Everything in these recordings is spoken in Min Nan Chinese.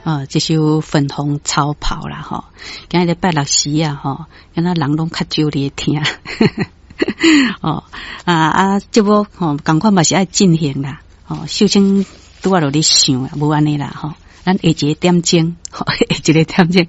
啊，這首粉紅超跑啦，吼，今日拜六時啊，吼，敢若人攏較少咧聽，哦，啊啊，節目吼，仝款嘛是愛進行啦，吼，秀清拄仔落咧想啦，無按呢啦，吼，咱下一個點鐘，下一個點鐘，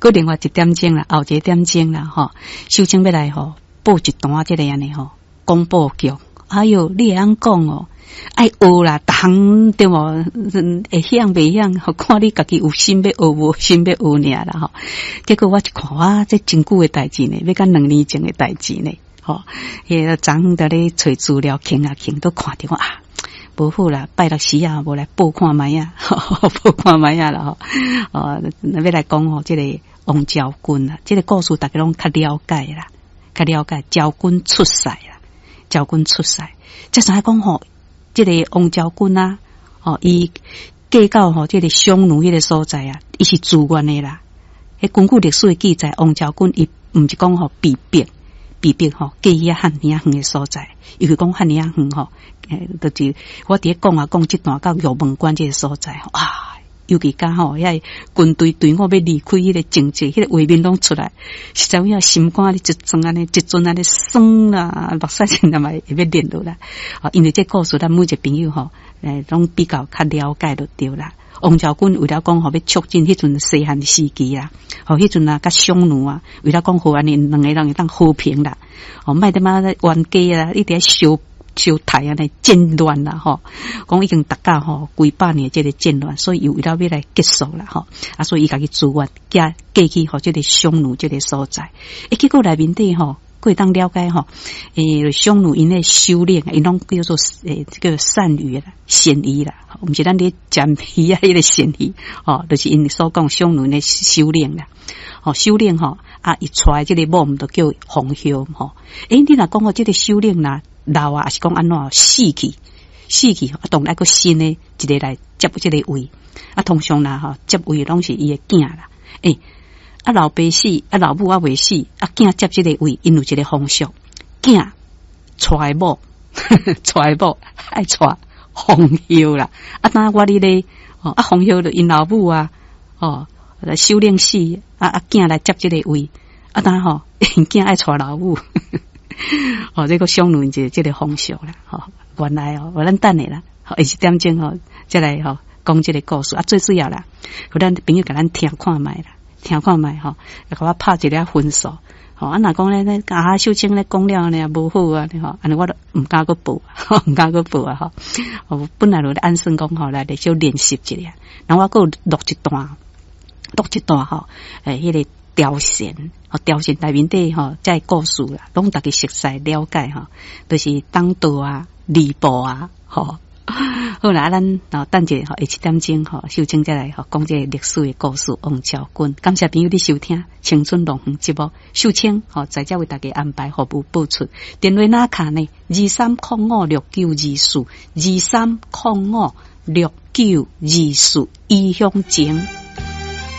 閣另外一點鐘啦，後一個點鐘啦，吼，秀清欲來吼報一段這個按呢吼廣播劇，哎喲，你會曉講哦。愛學啦，逐項對無？會曉袂曉？看你家己有心欲學無心欲學爾啦吼。結果我一看，哇，這真久的代誌呢，欲甲2年前的代誌呢。吼，彼個昨昏佇咧揣資料，傾啊傾，都看著講啊，無好啦，拜六時啊，無來報看覓啊，報看覓啊啦吼。哦，欲來講吼，這個王昭君啊，這個故事大家攏較了解啦，較了解昭君出塞啦，昭君出塞，才知影講吼。這個王昭君啊，吼，伊嫁到吼這個匈奴彼個所在啊，伊是自願的啦。彼根據歷史的記載，王昭君伊毋是講吼被逼，被逼吼嫁去遐遐爾仔遠的所在，伊是講遐爾仔遠吼，就是我佇咧講啊講這段到玉門關這個所在，啊，尤其講吼，遐軍隊隊伍欲離開彼個情節，彼個畫面攏出來，實在有影心肝咧一陣按呢，一陣按呢酸啦，目屎真的嘛會欲流落來。哦，因為這故事，咱每一個朋友吼，攏比較較了解就對啦。王昭君為了講吼，欲促進彼陣西漢時期啦，吼，彼陣啊，佮匈奴啊，為了講予按呢兩個人會當和平啦，哦，莫得嘛冤家啦，一直相相刣按呢戰亂啦，吼，講已經達到吼幾百年這個戰亂，所以伊為了欲來結束啦，吼，啊，所以伊家己自願嫁嫁去予這個匈奴這個所在，欸，結果內面底吼，閣會當了解吼，欸，匈奴𪜶的首領，𪜶攏叫做欸這個單於啦、單於啦，毋是咱咧食魚仔彼個鱔魚，吼，就是𪜶所講匈奴的首領啦，吼，首領吼，啊，伊娶這個某毋就叫馮後吼，欸，你若講吼這個首領若老啊，抑是講按怎死去，死去，啊，當然愛閣新的一個來接這個位，啊，通常啦吼，接位攏是伊的囝啦，欸，啊，老爸死，啊，老母猶未死，啊，囝接這個位，𪜶有一個風俗，囝娶某，娶某愛娶馮後啦，啊，當我佇咧，哦，啊，馮後就𪜶老母啊，哦，首領死，啊啊，囝來接這個位，啊，當吼，𪜶囝愛娶老母。哦，這個匈奴一個這個風俗啦，吼，原來哦，咱等下啦，下一點鐘吼，再來吼講這個故事啊，最主要啦，予咱朋友共咱聽看覓啦，聽看覓吼，共我拍一个分數，吼，啊，若講咧，啊，秀清咧講了呢，無好啊，吼，按呢我都毋敢閣報，毋敢閣報啊，吼，我本來就按算講吼，來來小練習一下，然後我閣有錄一段，錄一段吼，欸，彼個貂蟬，吼，貂蟬內面底吼，這個故事啦，攏逐家熟悉了解吼，就是張導啊、呂布啊，吼，好啦，啊，咱哦等者吼，下七點鐘吼，秀清再來吼講這個歷史的故事，王昭君。感謝朋友的收聽，青春樂園節目，秀清吼在這為大家安排服務播出。電話哪卡呢？23056924，23056924，伊鄉情。